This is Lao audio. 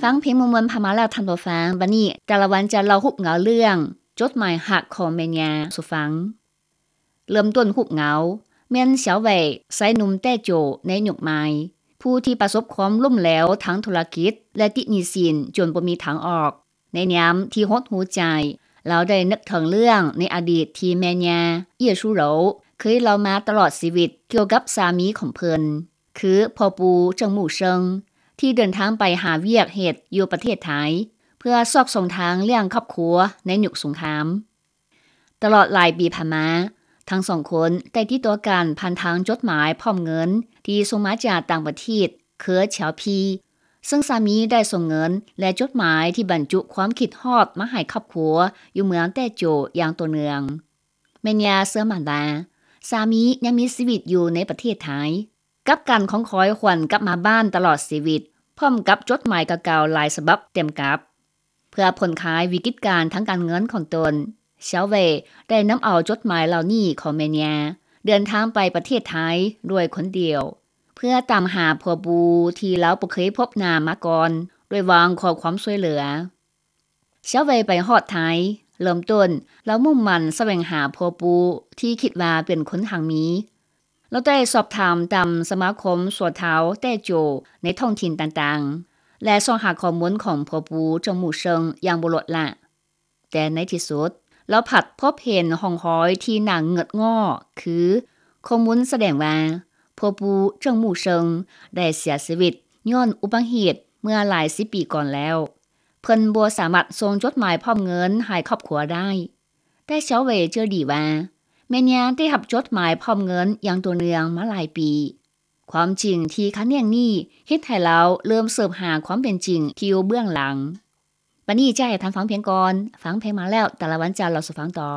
ຟັງເພງມ່ວນໆຜ່ານມາແລ້ວທ່ານຜູ້ຟັງ, ບັດນີ້ຕາລະວັນຈະເລົ່າຮູບເງົາເລື່ອງ ຈົດໝາຍຮັກຂອງແມ່ຍ່າສູ່ຟັງ. ເລີ່ມຕົ້ນຮູບເງົາ ແມ່ນສາວເຫວ້ ຊາຍໜຸ່ມແຕ້ໂຈ ໃນຍຸກໃໝ່ ຜູ້ທີ່ປະສົບຄວາມລົ້ມເຫຼວທາງທຸລະກິດ ແລະ ຕິດໜີ້ສິນຈົນບໍ່ມີທາງອອກ. ໃນຍາມທີ່ຫົດຫູໃຈ, ລາວໄດ້ນຶກເຖິງເລື່ອງໃນອະດີດທີ່ແມ່ຍ່າ ເອີຍຊູໂຣ ເຄີຍເລົ່າມາຕະຫຼອດຊີວິດກ່ຽວກັບສາມີຂອງເພິ່ນ ຄືພໍ່ປູ່ ເຈິງໝູ່ເຊິງ ທີ່ເດີນທາງໄປຫາວຽກເຮັດຢູ່ປະເທດໄທ ເພື່ອຊອກຊ່ອງທາງລ້ຽງຄອບຄົວໃນຍຸກສົງຄາມ. ຕະຫຼອດຫຼາຍປີຜ່ານມາ, ທັງສອງຄົນໄດ້ຕິດຕໍ່ກັນຜ່ານທາງຈົດໝາຍພ້ອມເງິນທີ່ສົ່ງມາຈາກຕ່າງປະເທດ ເຄືອ ແຊວພີ ເຊິ່ງສາມີໄດ້ສົ່ງເງິນ ແລະ ຈົດໝາຍທີ່ບັນຈຸຄວາມຄິດຮອດມາໃຫ້ຄອບຄົວຢູ່ເມືອງແຕ້ໂຈຢ່າງຕໍ່ເນື່ອງ. ແມ່ຍ່າເຊື່ອໝັ້ນວ່າ ສາມີຍັງມີຊີວິດຢູ່ໃນປະເທດໄທ ກັບການຂອງຄອຍຫວນກັບມາບ້ານຕະຫຼອດຊີວິດ ພ້ອມກັບຈົດໝາຍເກົ່າໆຫຼາຍສະບັບເຕັມກັບ. ເພື່ອຜ່ອນຄາຍວິກິດການທາງການເງິນຂອງຕົນ, ສາວເຫວ້ ໄດ້ນຳເອົາຈົດໝາຍເຫຼົ່ານີ້ຂອງແມ່ຍ່າ ເດີນທາງໄປປະເທດໄທດ້ວຍຄົນດຽວ ເພື່ອຕາມຫາພໍ່ປູ່ທີ່ລາວບໍ່ເຄີຍພົບໜ້າມາກ່ອນ ດ້ວຍຫວັງຂໍຄວາມຊ່ວຍເຫຼືອ. ສາວເຫວ້ໄປຮອດໄທ, ເລີ່ມຕົ້ນລາວມຸ່ງໝັ້ນສະແຫວງຫາພໍ່ປູ່ທີ່ຄິດວ່າເປັນຄົນຮັ່ງມີ. ລາວໄດ້ສອບຖາມຕາມສະມາຄົມຊົ່ວຄາວແຕ້ໂຈໃນທ້ອງຖິ່ນຕ່າງໆ ແລະ ຊອກຫາຂໍ້ມູນຂອງພໍ່ປູ່ ເຈິງໝູ່ເຊິງ ຢ່າງບໍ່ລົດລະ. ແຕ່ໃນທີ່ສຸດ, ລາວພັດພົບເຫັນຮ່ອງຮອຍທີ່ໜ້າເງືອດງໍ້ ຄື ຂໍ້ມູນສະແດງວ່າ ພໍ່ປູ່ ເຈິງໝູ່ເຊິງ ໄດ້ເສຍຊີວິດຍ້ອນອຸບັດຕິເຫດເມື່ອຫຼາຍສິບປີກ່ອນແລ້ວ. ເພິ່ນບໍ່ສາມາດສົ່ງຈົດໝາຍພ້ອມເງິນໃຫ້ຄອບຄົວໄດ້. ແຕ່ສາວເຫວ້ເຈີດີວ່າ ແມ່ຍ່າໄດ້ຮັບຈົດໝາຍພ້ອມເງິນຢ່າງຕໍ່ເນື່ອງມາຫຼາຍປີ. ຄວາມຈິງທີ່ຂັດແຍ້ງນີ້ເຮັດໃຫ້ລາວເລີ່ມເສີບຫາຄວາມເປັນຈິງທີ່ຢູ່ເບື້ອງຫຼັງ. ບັດນີ້ຈະໃຫ້ທ່ານຟັງເພງກ່ອນ, ຟັງເພງມາແລ້ວ ຕາລະວັນຈະເລົ່າສູ່ຟັງຕໍ່.